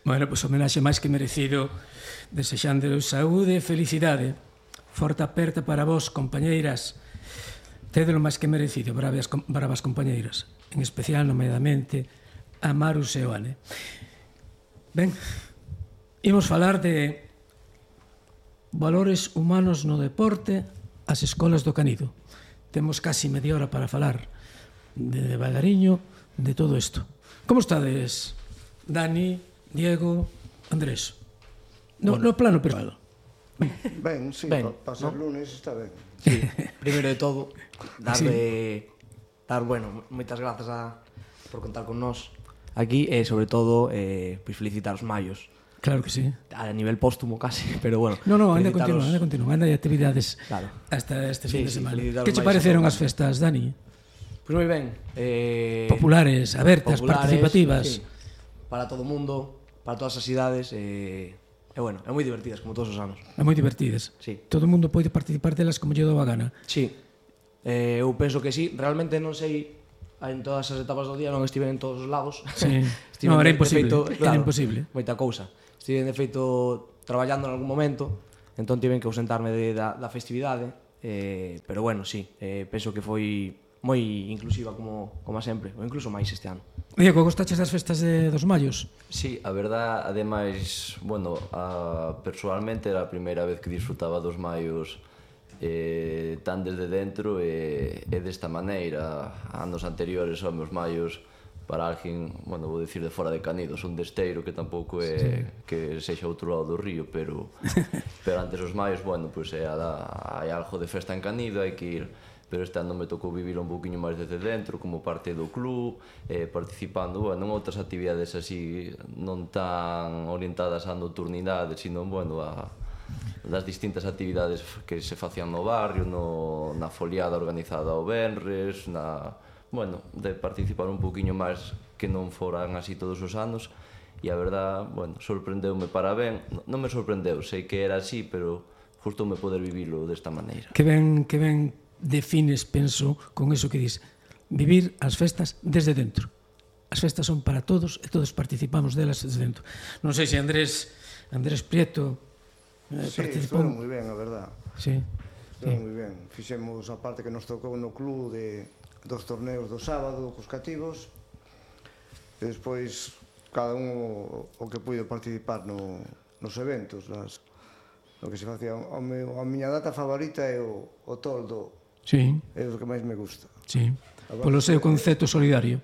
Bueno, pois homenaxe máis que merecido, desexando saúde e felicidade. Forte aperta para vos, compañeiras. Tédelo máis que merecido, bravas compañeiras. En especial, nomeadamente, a Maru Seoane. Ben, imos falar de valores humanos no deporte, as escolas do Canido. Temos casi media hora para falar de devagariño de todo isto. Como estades, Dani, Diego, Andrés? No plano persoal. Ben, sí, para ser lunes está ben. Sí, primeiro de todo, moitas grazas por contar con nós aquí e, sobre todo, felicitar os maios. Claro que sí. A nivel póstumo, casi, pero bueno. No, ainda continúa, ainda hai actividades hasta este fin de semana. Que che pareceron as festas, Dani? Pois moi ben. Populares, abertas, participativas. Sí, para todo o mundo, para todas as idades, e bueno, é moi divertidas, como todos os anos. É moi divertidas. Sí. Todo o mundo pode participar delas como lle dou a gana. Sí. Eu penso que sí. Realmente non sei, en todas as etapas do día non estive en todos os lados. Sí. No, era imposible. Era imposible. Moita cousa. Estive, de feito, traballando en algún momento, entón tiven que ausentarme da festividade, pero bueno, sí, penso que foi moi inclusiva como sempre, ou incluso máis este ano. Diego, gostaches das festas dos maios? Sí, a verdad, ademais, bueno, personalmente era a primeira vez que disfrutaba dos maios tan desde dentro e desta maneira. Anos anteriores, os meus maios, para alguén, bueno, vou dicir de fora de Canido, son de Esteiro, que tampouco é que sexa outro lado do río, pero antes os maios, bueno, pois hai algo de festa en Canido, hai que ir, pero este ano me tocou vivir un poquinho máis desde dentro, como parte do club, participando, bueno, en outras actividades así, non tan orientadas á nocturnidade, sino, bueno, das distintas actividades que se facían no barrio, na foliada organizada o venres, bueno, de participar un poquinho máis que non foran así todos os anos, e a verdad, bueno, sorprendeume para ben. Non me sorprendeu, sei que era así, pero gustoume poder vivilo desta maneira. Que ben defines, penso, con eso que dis, vivir as festas desde dentro. As festas son para todos e todos participamos delas desde dentro. Non sei se Andrés Prieto Sí, participou. estuvo moi ben, a verdad. Sí. Estuvo moi ben. Fixemos a parte que nos tocou no club dos torneos do sábado cos cativos, e despois cada un o que puido participar nos eventos, o que se facía. A miña data favorita é o toldo. Sí. É o que máis me gusta. Sí. Polo seu concepto solidario.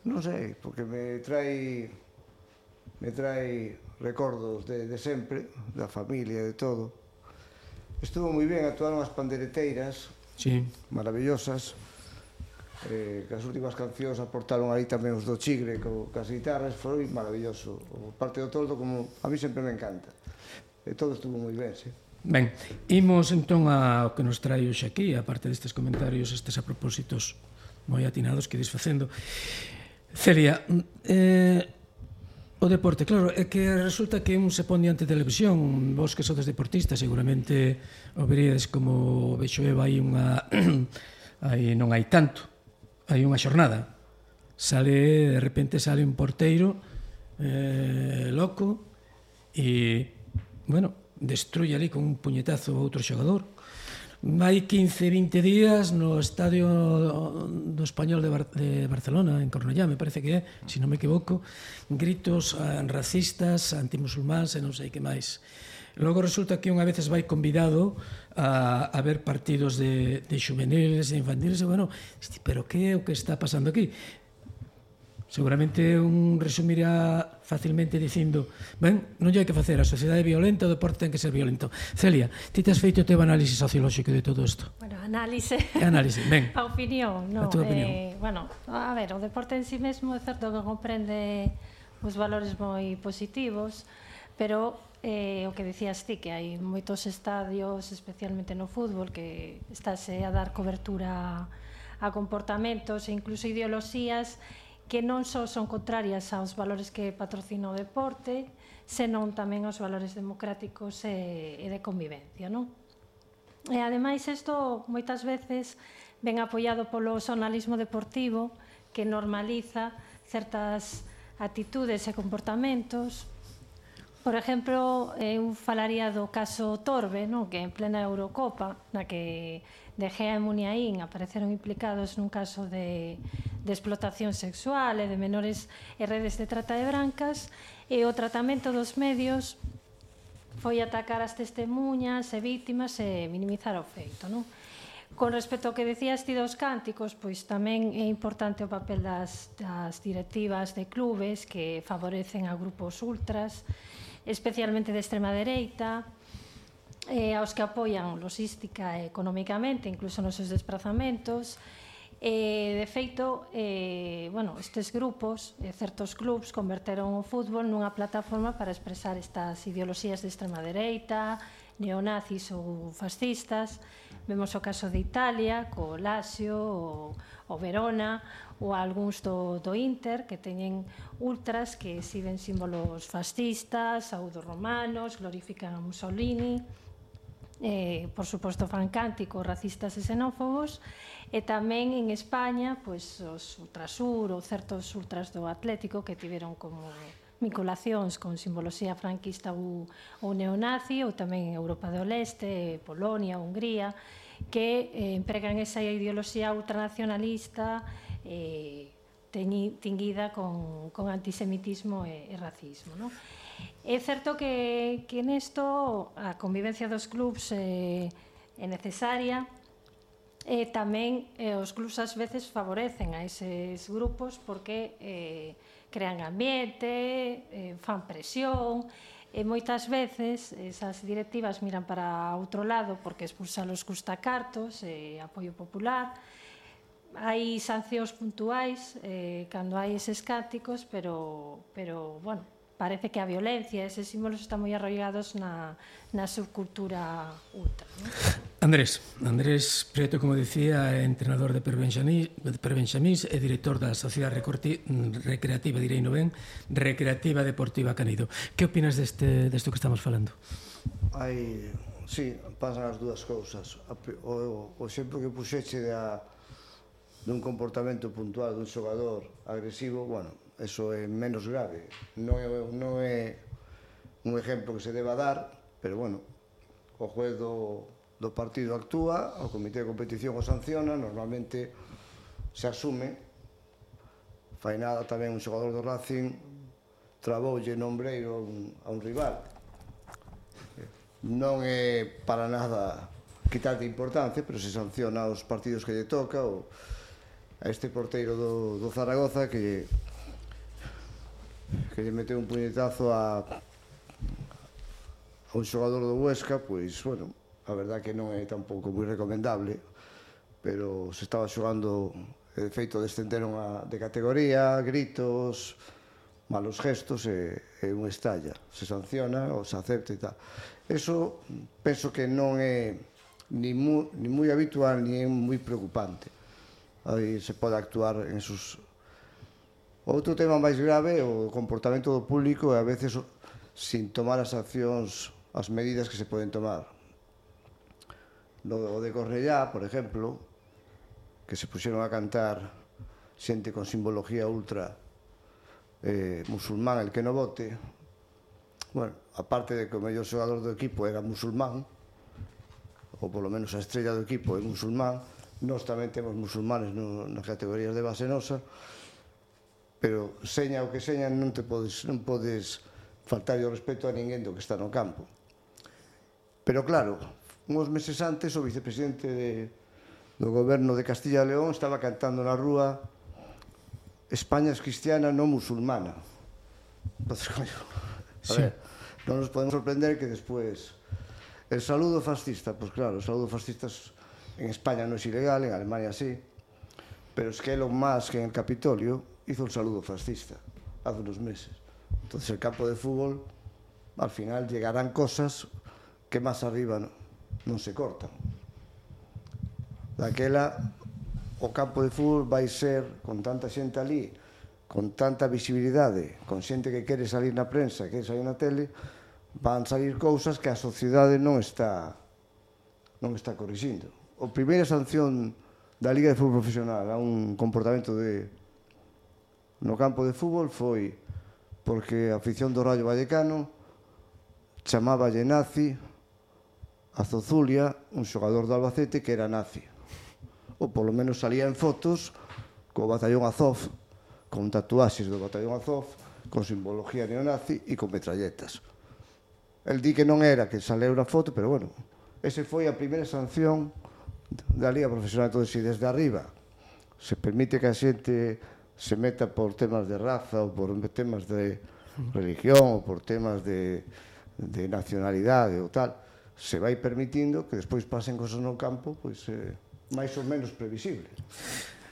Non sei, porque me trae recordos de sempre, da familia, de todo. Estuvo moi ben, actuaron as pandereteiras, maravillosas, que as últimas cancións aportaron aí tamén os do Chigre cas guitarras, foi maravilloso. O parte do toldo, como a mí sempre me encanta. E todo estuvo moi ben, sí. Ben, imos entón ao que nos trae hoxe aquí, a parte destes comentarios, estes a propósitos moi atinados que desfacendo. Celia, o deporte, claro, é que resulta que un se pon diante de televisión, vos que sodes deportistas, seguramente o veríades como vexo eu, hai unha non hai tanto, hai unha xornada, de repente sale un porteiro loco e, bueno, destruye ali con un puñetazo a outro xogador. Hai 15-20 días no estadio do Español de Barcelona, en Cornellá, me parece que é, se non me equivoco, gritos racistas, antimusulmáns e non sei que máis. Logo resulta que unha veces vai convidado a ver partidos de xuveniles e infantiles, e bueno, pero que é o que está pasando aquí? Seguramente un resumirá facilmente dicindo, ben, non hai que facer, a sociedade é violenta, o deporte ten que ser violento. Celia, ti te has feito o teu análise sociolóxico de todo isto? Bueno, análise. Análise, ben. A opinión, non. A tua opinión. Bueno, a ver, o deporte en sí mesmo é certo que comprende os valores moi positivos, pero o que dicías ti, que hai moitos estadios, especialmente no fútbol, que estáse a dar cobertura a comportamentos e incluso ideoloxías que non só son contrarias aos valores que patrocina o deporte, senón tamén aos valores democráticos e de convivencia, non? E ademais isto moitas veces ven apoiado polo xornalismo deportivo que normaliza certas actitudes e comportamentos Por exemplo, eu falaría do caso Torbe, que en plena Eurocopa, na que De Gea e Muniain apareceron implicados nun caso de explotación sexual e de menores e redes de trata de brancas, e o tratamento dos medios foi atacar as testemunhas e vítimas e minimizar o feito, non? Con respecto ao que decías ti dos cánticos, pois tamén é importante o papel das directivas de clubes que favorecen a grupos ultras, especialmente de extrema dereita, aos que apoian logística e económicamente, incluso nos seus desplazamentos. De feito, estes grupos, certos clubs, converteron o fútbol nunha plataforma para expresar estas ideoloxías de extrema dereita, neonazis ou fascistas. Vemos o caso de Italia, co Lazio, o Verona, ou algúns do Inter, que teñen ultras que exhiben símbolos fascistas, pseudo-romanos, glorifican a Mussolini, por suposto fan cánticos racistas e xenófobos, e tamén en España os Ultrasur ou certos ultras do Atlético que tiveron como vinculacións con simboloxía franquista ou neonazi, ou tamén en Europa do Leste, Polonia, Hungría, que empregan esa ideoloxía ultranacionalista tinguida con antisemitismo e racismo, non? É certo que nesto a convivencia dos clubs é necesaria, e tamén os clubs ás veces favorecen a eses grupos porque crean ambiente, fan presión, e moitas veces esas directivas miran para outro lado porque expulsalos custa cartos e apoio popular. Hai sancións puntuais cando hai eses cánticos, pero bueno, parece que a violencia e eses símbolos están moi arraigados na subcultura ultra, non? Andrés Prieto, como dicía, é entrenador de Perbenxamís e director da Sociedade Recreativa, direi no ben, Recreativa Deportiva Canido. Que opinas desto que estamos falando? Sí, pasan as dúas cousas. O exemplo que puxeche dun comportamento puntual dun xogador agresivo, bueno, eso é menos grave. Non é un exemplo que se deba dar, pero bueno, o juez do partido actúa, o comité de competición o sanciona, normalmente se asume. Fai nada tamén un xogador do Racing traboulle nombreiro a un rival. Non é para nada quitar de importancia, pero se sanciona os partidos que lle toca, a este porteiro do Zaragoza que lle meteu un puñetazo a un xogador do Huesca, pois, bueno, a verdad que non é tampouco moi recomendable, pero se estaba xogando, de feito descenderon de categoría, gritos, malos gestos e un estalla. Se sanciona ou se acepta e tal. Eso penso que non é ni moi habitual ni é moi preocupante. Aí se pode actuar en esos... Outro tema máis grave é o comportamento do público e a veces sin tomar as accións, as medidas que se poden tomar. O de Cornellá, por exemplo, que se puxeron a cantar xente con simbología ultra musulmán, el que no vote. Bueno, aparte de que o mellor xogador do equipo era musulmán, ou polo menos a estrella do equipo é musulmán, nós tamén temos musulmanes nas categorías de base nosa, pero seña o que seña non podes faltar o respeto a ninguén do que está no campo. Pero claro, uns meses antes o vicepresidente do goberno de Castilla e León estaba cantando na rúa España es cristiana, non musulmana. Entonces, coño, a ver, non nos podemos sorprender que despois el saludo fascista, pues claro, el saludo fascista en España non é ilegal, en Alemania sí, pero es que Elon Musk en el Capitolio hizo el saludo fascista hace unos meses. Entonces el campo de fútbol, al final llegarán cosas que más arriba non se cortan. Daquela, o campo de fútbol vai ser, con tanta xente ali, con tanta visibilidade, con xente que quere salir na prensa, que quere salir na tele, van salir cousas que a sociedade non está corrixindo. A primeira sanción da Liga de Fútbol Profesional a un comportamento no campo de fútbol foi porque a afición do Rayo Vallecano chamáballe nazi a Zozulia, un xogador do Albacete que era nazi. Ou polo menos salía en fotos co batallón Azov, con tatuaxes do batallón Azov, con simbología neonazi e con metralletas. El di que non era, que saleu na foto, pero bueno, ese foi a primeira sanción da Liga Profesional. Entón, se desde arriba se permite que a xente se meta por temas de raza ou por temas de religión ou por temas de nacionalidade ou tal, se vai permitindo que despois pasen cosas no campo, pois máis ou menos previsible.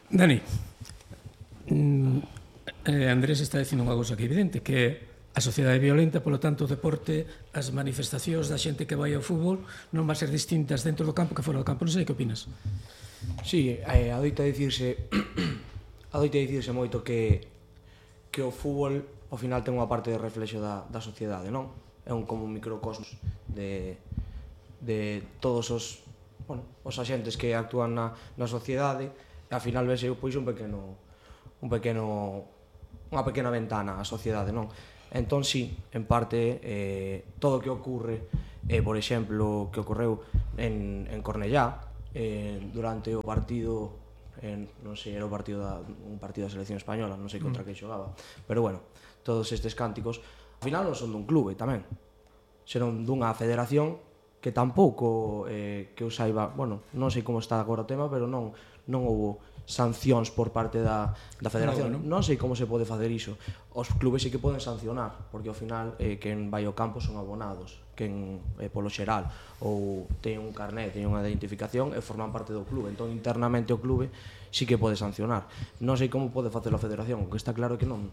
Dani, Andrés está dicindo unha cousa que é evidente, que a sociedade é violenta, polo tanto o deporte, as manifestacións da xente que vai ao fútbol non van ser distintas dentro do campo que fora do campo. Non sei que opinas. Sí, adoita dicirse moito que o fútbol ao final ten unha parte de reflexo da sociedade, non? É como un microcosmos de todos os axentes que actúan na sociedade, e ao final vese pois unha pequena ventana á sociedade, non? Entón, sí, en parte, todo o que ocurre, por exemplo, que ocorreu en Cornellá, durante o partido, non sei, era un partido da selección española, non sei contra que xogaba, pero bueno, todos estes cánticos, ao final non son dun clube tamén, senón dunha federación que tampouco, que eu saiba, bueno, non sei como está agora o tema, pero non houbo sancións por parte da federación. Non sei como se pode facer iso. Os clubes sí que poden sancionar, porque ao final quen vai ao campo son abonados, quen polo xeral ou ten un carné, ten unha identificación e forman parte do clube. Entón internamente o clube sí que pode sancionar. Non sei como pode facer a federación, o que está claro é que non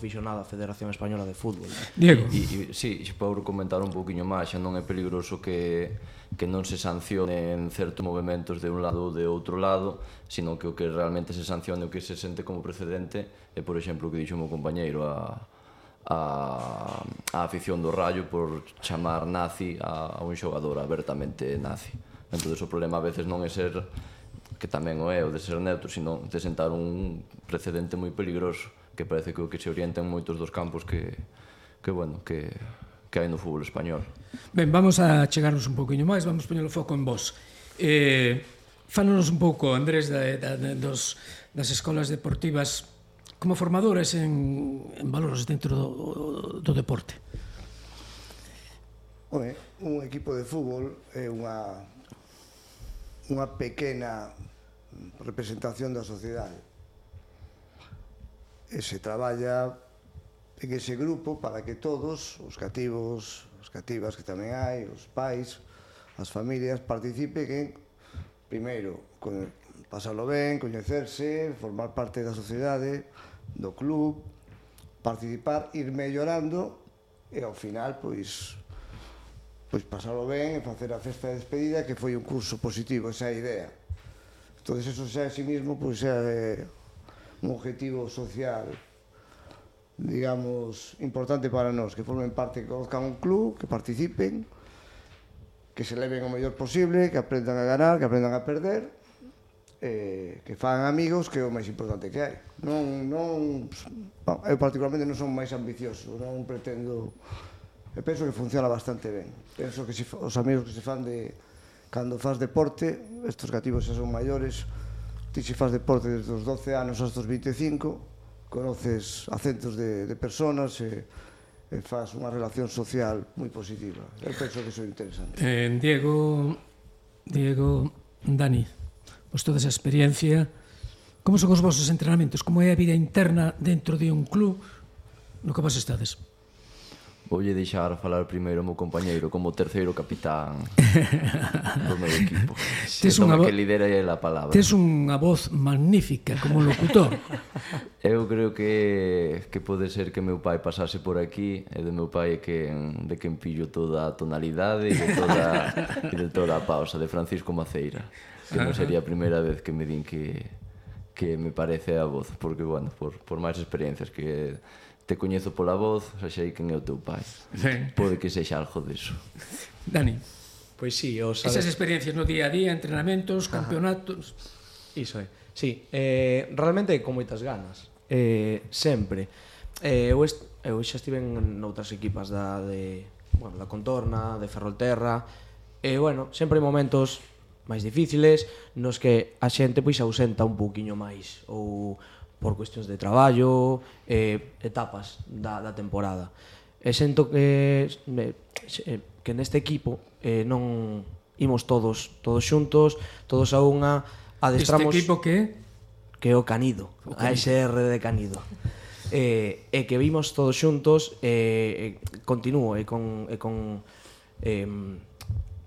fixo nada a Federación Española de Fútbol. Diego. Sí, por comentar un poquinho máis, xa non é peligroso que non se sancionen certos movimentos de un lado ou de outro lado, sino que o que realmente se sancione, o que se sente como precedente é, por exemplo, o que dixo o meu compañeiro, a afición do Rayo por chamar nazi a un xogador abertamente nazi. Entón, o problema a veces non é ser, que tamén o é, o de ser neutro, sino de sentar un precedente moi peligroso, que parece que o que se orienta en moitos dos campos que hai no fútbol español. Ben, vamos a chegarnos un poquinho máis, vamos poñer o foco en vos. Fálanos un pouco, Andrés, das escolas deportivas como formadores en valores dentro do deporte. Un equipo de fútbol é unha pequena representación da sociedade. E se traballa en ese grupo para que todos, os cativos, as cativas que tamén hai, os pais, as familias, participen en, primeiro, pasalo ben, coñecerse, formar parte da sociedade, do club, participar, ir mellorando e ao final, pois pasalo ben e facer a festa de despedida, que foi un curso positivo, esa é a idea. Entón, eso xa en sí mismo, pois é un objetivo social, digamos, importante para nós, que formen parte, que conozcan un club, que participen, que se leven o mellor posible, que aprendan a ganar, que aprendan a perder, que fagan amigos, que é o máis importante que hai. Eu particularmente non son máis ambicioso, non pretendo, eu penso que funciona bastante ben. Penso que os amigos que se fan de cando faz deporte, estos cativos xa son maiores, ti se faz deporte desde os 12 anos hasta os 25, conoces a centos de personas e faz unha relación social moi positiva. Eu penso que iso é interesante. Diego, Dani, vos toda esa experiencia, como son os vosos entrenamentos? Como é a vida interna dentro de un club no que vos estades? Voulle deixar falar primeiro o meu compañeiro como terceiro capitán do meu equipo. Que lidera a palabra. Tes unha voz magnífica como locutor. Eu creo que pode ser que meu pai pasase por aquí e de meu pai de quen pillo toda a tonalidade e de toda a pausa, de Francisco Maceira, que non sería a primeira vez que me din que me parece a voz, porque, bueno, por máis experiencias que te coñezo pola voz, xa sei quen é o teu pai. Pode que sexa algo diso. Dani. Pois sí, esas experiencias no día a día, entrenamentos, campeonatos. Iso é. Sí, realmente con moitas ganas. Sempre. Eu xa estive en outras equipas bueno, da Contorna, de Ferrolterra, e, bueno, sempre hai momentos máis difíciles nos que a xente pois ausenta un pouquiño máis, ou por cuestións de traballo, etapas da temporada. E sento que neste equipo non imos todos xuntos, todos a unha, adestramos... Este equipo que? Que é o Canido, a SR de Canido. E que vimos todos xuntos, continúo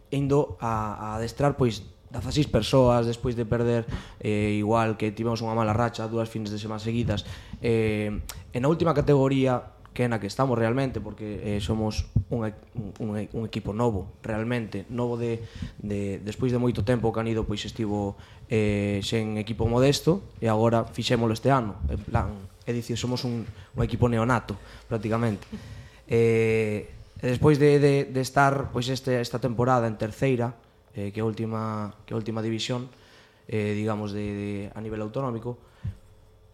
indo a adestrar pois 16 persoas despois de perder, igual que tivemos unha mala racha 2 fins de semana seguidas, en a última categoría que é na que estamos realmente, porque somos un equipo novo, realmente novo, despois de moito tempo o Canido pois estivo sen equipo modesto e agora fixémolo este ano, en plan, é dicir, somos un equipo neonato prácticamente. E despois de estar pois esta temporada en terceira, que é a última división, digamos, a nivel autonómico,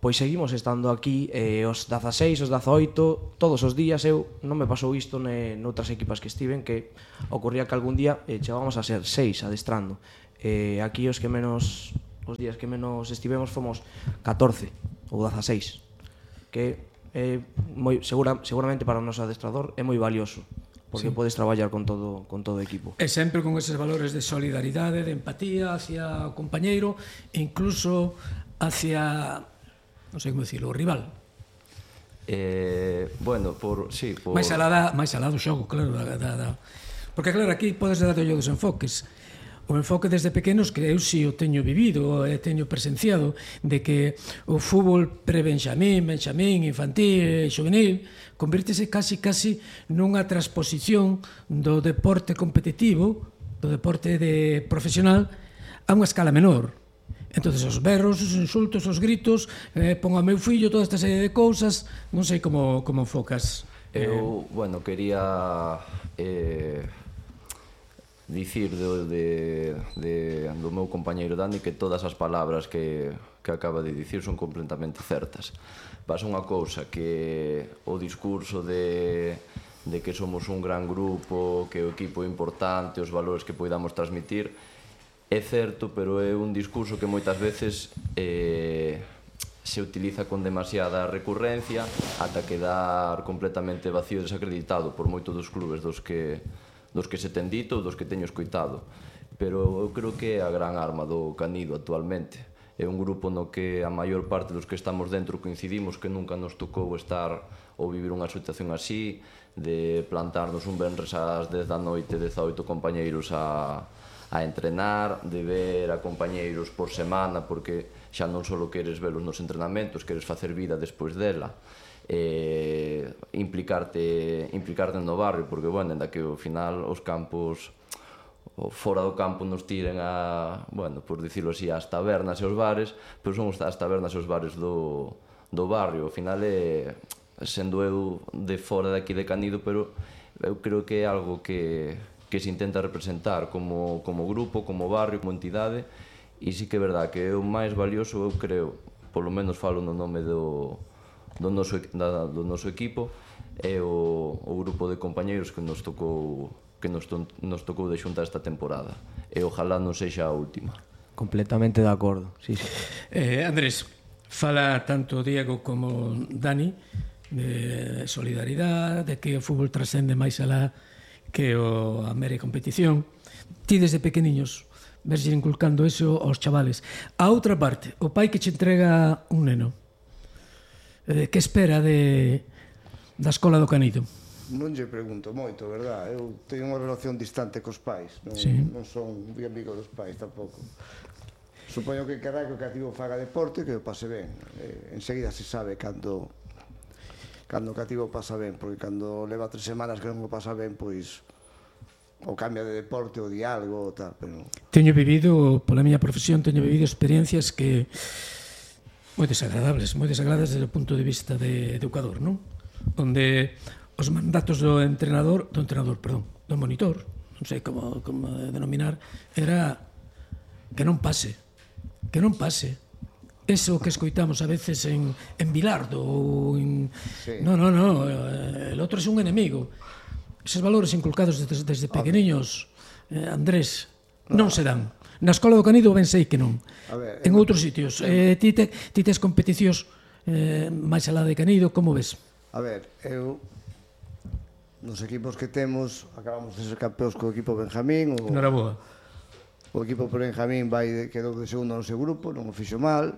pois seguimos estando aquí, os 16, os 18, todos os días. Eu non me pasou isto noutras equipas que estiven, que ocurría que algún día chegábamos a ser 6 adestrando. Aquí os días que menos estivemos fomos 14 ou 16, que seguramente para o noso adestrador é moi valioso, porque podes traballar con todo o equipo. E sempre con eses valores de solidaridade, de empatía hacia o compañeiro, incluso hacia, non sei como dicirlo, o rival. Bueno, máis alá do xogo, claro, porque claro, aquí podes dar dos enfoques. O enfoque desde pequenos, que eu si o teño vivido e teño presenciado, de que o fútbol pre-benxamín, infantil, juvenil, convírtese casi nunha transposición do deporte competitivo, do deporte profesional, a unha escala menor. Entonces os berros, os insultos, os gritos, pon a meu fillo, toda esta serie de cousas, non sei como enfocas. Eu, bueno, quería dicir do meu compañeiro Dani que todas as palabras que acaba de dicir son completamente certas. Pasa unha cousa, que o discurso de que somos un gran grupo, que o equipo é importante, os valores que poidamos transmitir, é certo, pero é un discurso que moitas veces se utiliza con demasiada recurrencia ata quedar completamente vacío e desacreditado por moito dos clubes dos que se ten dito, dos que teño escoitado. Pero eu creo que é a gran arma do Canido actualmente. É un grupo no que a maior parte dos que estamos dentro coincidimos que nunca nos tocou estar ou vivir unha situación así, de plantarnos un venres ás 10 da noite 18 compañeiros a entrenar, de ver a compañeiros por semana, porque xa non só queres velos nos entrenamentos, queres facer vida despois dela, implicarte no barrio, porque, bueno, ainda que ao final os campos fora do campo nos tiren bueno, por dicirlo así, as tabernas e os bares, pero son as tabernas e os bares do barrio. Ao final sendo eu de fora daqui de Canido, pero eu creo que é algo que se intenta representar como grupo, como barrio, como entidade, e sí que é verdad que é o máis valioso, eu creo, polo menos falo no nome do noso equipo, é o grupo de compañeiros que nos tocou de xuntar esta temporada, e ojalá non sexa a última. Completamente de acordo, sí. Andrés, fala tanto Diego como Dani de solidaridade, de que o fútbol trascende máis alá que a mera competición. Ti desde pequeniños ves inculcando eso aos chavales. A outra parte, o pai que che entrega un neno, que espera da escola do Canido? Non lle pregunto moito, verdad? Eu teño unha relación distante cos pais, non son moi amigo dos pais tampouco. Supoño que querrá que o cativo faga deporte, que o pase ben. Enseguida se sabe cando o cativo pasa ben, porque cando leva 3 semanas que non o pasa ben, pois ou cambia de deporte ou de algo, tal, pero... Teño vivido, pola miña profesión, experiencias que moi desagradables desde o punto de vista de educador, non? Onde os mandatos do monitor, non sei como denominar, era que non pase. Eso que escoitamos a veces en Bilardo ou en... No, el outro é un enemigo. eses valores inculcados desde pequeniños, Andrés, non se dan. Na escola do Canido ben sei que non. En outros sitios. Ti tes competicións máis alá de Canido, como ves? A ver, eu nos equipos que temos acabamos de ser campeóns co equipo Benjamín. Noraboa. O equipo Benjamín quedou de segundo no seu grupo, non o fixo mal.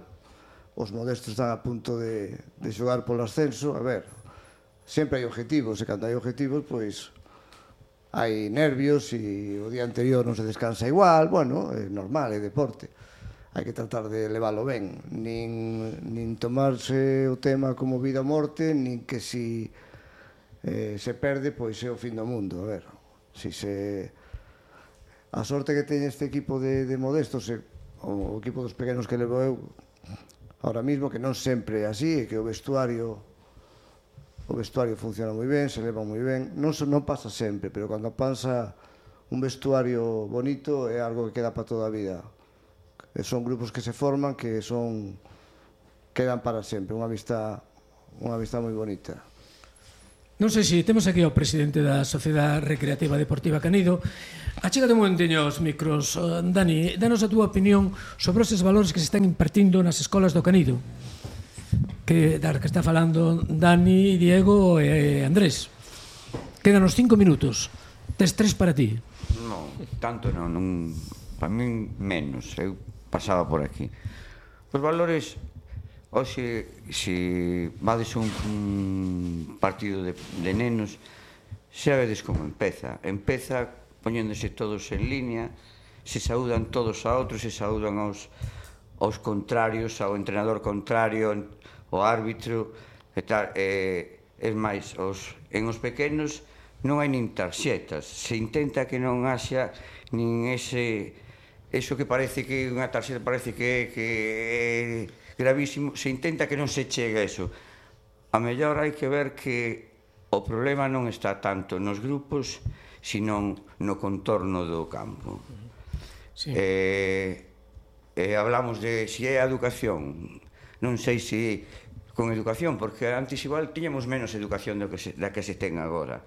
Os modestos están a punto de xogar polo ascenso. A ver, sempre hai objetivos, e cando hai objetivos, pois hai nervios e o día anterior non se descansa igual. Bueno, é normal, é deporte. Hai que tratar de leválo ben, nin tomarse o tema como vida ou morte, nin que si se perde, pois é o fin do mundo. A ver, a sorte que teñe este equipo de modestos, o equipo dos pequenos que levo eu, ahora mismo, que non sempre é así, e que o vestuario funciona moi ben, se leva moi ben. Non pasa sempre, pero cando pasa un vestuario bonito é algo que queda para toda a vida. Son grupos que se forman, que quedan para sempre, unha amistad moi bonita. Non sei se temos aquí ao presidente da Sociedade Recreativa Deportiva Canido. Achégate un momenteño os micros. Dani, danos a túa opinión sobre esos valores que se están impartindo nas escolas do Canido. Que está falando Dani, Diego e Andrés. Quedan os 5 minutos. Tes 3 para ti. Non, tanto non. Para min menos. Eu pasaba por aquí. Os valores... Oxe, se vades un partido de nenos, xa vedes como empeza. Empeza poñéndose todos en línea, se saúdan todos a outros, se saúdan aos contrarios, ao entrenador contrario, ao árbitro, e tal. É máis, en os pequenos non hai nin tarxetas. Se intenta que non haxa nin eso que parece que unha tarxeta parece que é gravísimo, se intenta que non se chegue a eso. A mellor hai que ver que o problema non está tanto nos grupos, sino no contorno do campo. Hablamos de se é a educación. Non sei se con educación, porque antes igual tiñamos menos educación da que se ten agora.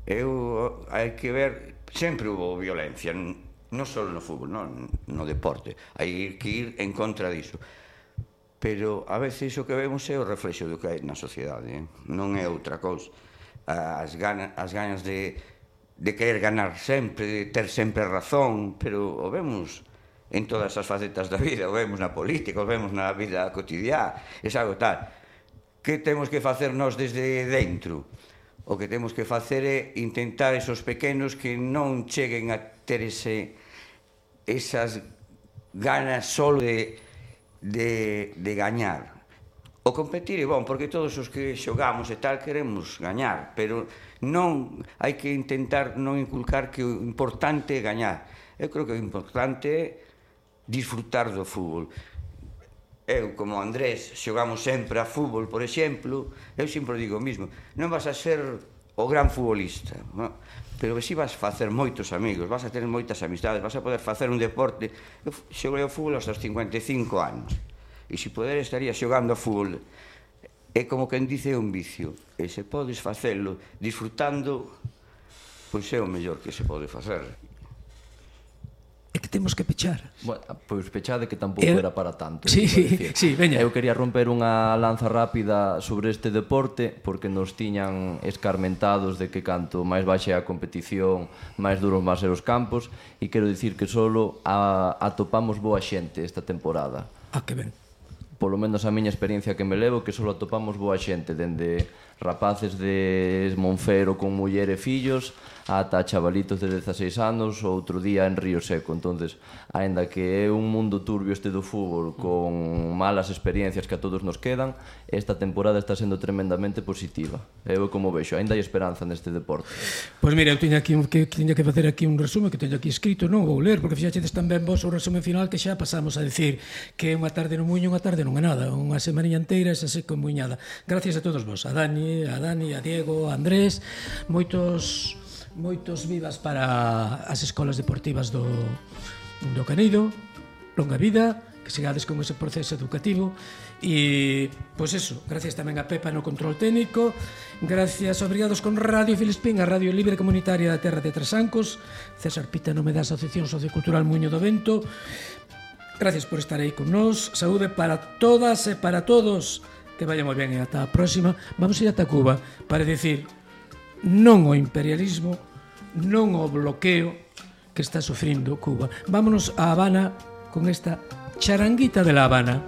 Hai que ver, sempre hubo violencia, non só no fútbol, no deporte. Hai que ir en contra diso. Pero a veces o que vemos é o reflexo do que hai na sociedade, non é outra cousa. As ganas de querer ganar sempre, de ter sempre razón, pero o vemos en todas as facetas da vida, o vemos na política, o vemos na vida cotidiana, é algo tal. Que temos que facer nós desde dentro? O que temos que facer é intentar esos pequenos que non cheguen a ter esas ganas só de gañar. O competir é bom, porque todos os que xogamos e tal queremos gañar, pero non hai que intentar non inculcar que o importante é gañar. Eu creo que o importante é disfrutar do fútbol. Eu, como Andrés, xogamos sempre a fútbol, por exemplo, eu sempre digo o mismo, non vas a ser o gran futbolista, non? Pero si vas a facer moitos amigos, vas a ter moitas amistades, vas a poder facer un deporte. Eu xoguei ao fútbol aos 55 anos, e se poder estaría xogando ao fútbol. É como quen dice un vicio, e se podes facelo disfrutando, pois é o mellor que se pode facer. É que temos que pechar. Bueno, pois pechade que tampouco era para tanto. Sí, veña. Eu quería romper unha lanza rápida sobre este deporte, porque nos tiñan escarmentados de que canto máis baixe a competición, máis duros van ser os campos, e quero dicir que solo atopamos boa xente esta temporada. Que ben. Polo menos a miña experiencia que me levo, que solo atopamos boa xente, dende rapaces de Monfero con muller e fillos ata chavalitos de 16 anos, outro día en Río Seco. Entonces, aínda que é un mundo turbio este do fútbol, con malas experiencias que a todos nos quedan, esta temporada está sendo tremendamente positiva. Eu como vexo, aínda hai esperanza neste deporte. Pois mira, eu tiña que facer aquí un resumen que teño aquí escrito, non vou ler, porque fixaxedes tamén vos o resumen final que xa pasamos a decir que unha tarde no Muiño, unha tarde non é nada, unha semaniña inteira esa seco muiñada. Gracias a todos vos, a Dani, a Diego, a Andrés, moitos vivas para as escolas deportivas do Canido, longa vida, que sigades con ese proceso educativo. E, pois eso, gracias tamén a Pepa no control técnico, gracias, obrigados con Radio Filispín, a Radio Libre Comunitaria da Terra de Trasancos, César Pita no me da Asociación Sociocultural Muño do Vento. Gracias por estar aí con nós, saúde para todas e para todos, que vaya moi ben e ata a próxima. Vamos ir ata Cuba para decir non o imperialismo, non o bloqueo que está sufrindo Cuba. Vámonos a Habana con esta charanguita de La Habana.